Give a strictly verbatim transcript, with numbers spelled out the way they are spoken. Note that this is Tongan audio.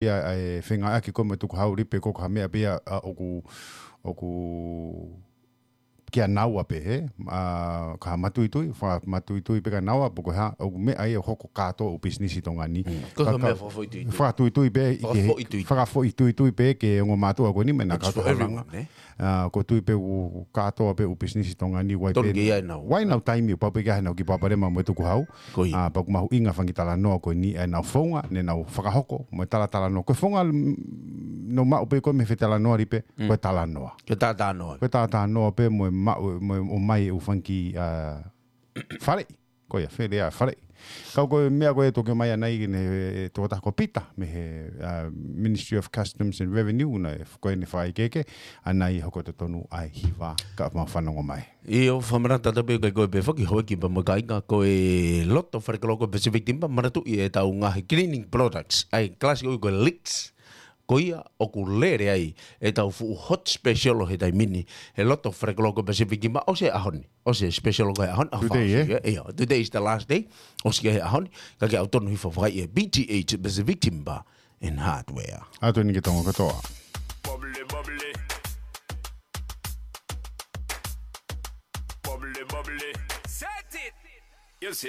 ia ʻa e fengāueʻaki ko ē mo e tukuhau, Lipe, ko e hā e meʻa pē ia ʻa, ʻoku, ʻoku kia naua pē, hē? ʻA, ka matuitui, fakamatuitui pē kia naua, pe ko e hā, ʻoku meʻa ia ʻoku hoko kātoa ʻū pisinisi Tonga ni. Mm. Ko e Faka-, meʻa fakafoʻituitui. Fakafoʻituitui pē, ʻi he Fakafoʻituitui. Fakafoʻituitui pē ke ongo mātuʻa ko eni mei na It's for kātoa everyone, langa. Eh? ʻA, ko e tui pē ʻoku kātoa pē ʻū pisinisi Tonga ni, ʻoku ʻi ai Tonu pē ke ʻi ai ʻenau. ʻOku ʻi ai ʻenau taimi, ʻoku pau pē ke ʻi ai ʻenau kiʻi palopalema mo e tukuhau. Ko ia. ʻA, pea ʻoku mahuʻinga e fanga kiʻi talanoa ko eni, ʻenau founga, ne nau fakahokoʻi mo e talatalanoa. Ko e founga, mm, naʻa ku maʻu pē ko ē mei he fetalanoaʻaki pē, Mm. ko e talanoa. Ko e talatalanoa. Ko e talatalanoa pē mo e maʻu, mo e ʻomai e ʻū fanga kiʻi, ʻa, faleʻi. Ko ia, fale ʻa, faleʻi. Ka ko e meʻa ko ē ʻoku toki ʻomai ʻanai ki he, e, tokotaha ko Pita, mei he, ʻa, Ministry of Customs and Revenue, naʻe, ko ʻene fakaʻekeʻeke, ʻanai hoko totonu ʻa e hiva, ka mau fanongo mai. ʻIo, fakamanatu atu pē ki he, ko e pē foki houʻeiki pea mo e kāinga, ko e loto falekoloko Pacific Timber, manatuʻi ʻetau ngaahi cleaning products, ʻa e kalasi ko ē ko e Licks, ko ia ʻoku lele ai ʻetau fuʻu hot special ʻo e taimi ni, he loto falekoloko Pacific Timber, ʻosi e ʻaho ni, ʻosi e special ko e ʻaho ni, ʻaho Today, Fausia, eh? ʻIo, today is the last day, ʻosi e ʻaho ni, ka ke ʻautonu hifo fai ʻe P T H Pacific Timber and Hardware. ʻAtu eni ki he Tonga kotoa. Bubbly, bubbly. Bubbly, bubbly. Set it. You see